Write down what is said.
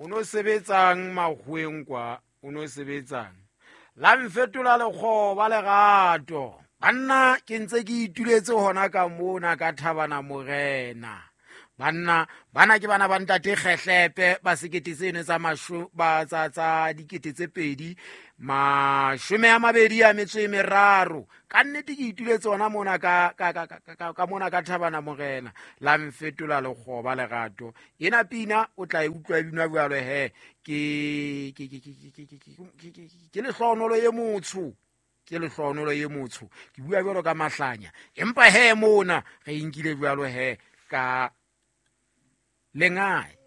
O no sebetsang makgoweng kwa, o no sebetsang la mfetola lekgoba lerato. Banna, ke ntse ke ituletse hona ka mona ka Thabana Morena. Banna bana ke bana ba ntate Kgehlepe ba sekete seno tsa masho ba tsa tsa 2023. Ka nnete ke ituletse hona mona ka ka ka ka ka mona ka Thabana Morena, la mfetola lekgoba lerato. Ena pina o tla e utlwa e binwa jwalo he. Ke ke ke ke ke ke ke ke lehlohonolo e motsho, ke lehlohonolo e motsho. Ke bua jwalo ka mahlanya, empa he mona re e nkile jwalo he ka lengae.